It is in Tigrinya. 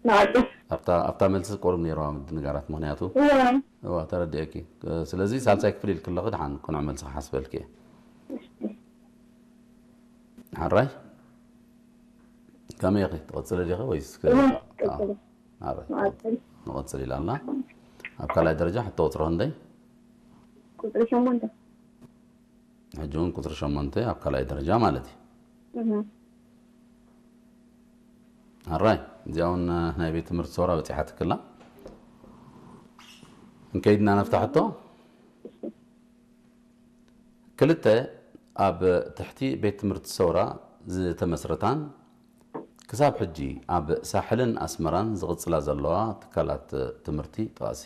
ንቐጽል። ኣብታ ኣብታ መልሲ ቁሩብ ነይርዋ ምድንጋራት፣ ምኽንያቱ እዋ እዋ ተረዲኤኪ። ስለዚ ሳልሳይ ክፍሊ ኢልክለኺ ደሓን ቅኑዕ መልሲ ክሓስበልኪ እየ። ሓራይ ከመይ ኢኺ ትቐጽሊ ዲኺ ወይስ ክ- እዋ ኣዎ። ቀጽል። ሓራይ ንቐጽል። ንቐጽል ኢላና። ኣብ ካልኣይ ደረጃ ሕቶ ቁጽሪ ክንደይ? ቁጽሪ ሸሞንተ። ሕጂ እውን ቁጽሪ ሸሞንተ ኣብ ካልኣይ ደረጃ ማለት እዩ። እህ። ኣራይ እዚኣ እውን ናይ ቤት ትምህርቲ ሰውራ በፂሓትክላ። እንከይድና ነፍታ ሕቶ። ክልተ ኣብ ትሕቲ ቤት ትምህርቲ ሰውራ ዝተመስረታን ክሳብ ሕጂ ኣብ ሳሕልን ኣስመራን ዝቕጽላ ዘለዋ ትካላት ትምህርቲ ጥቓሲ።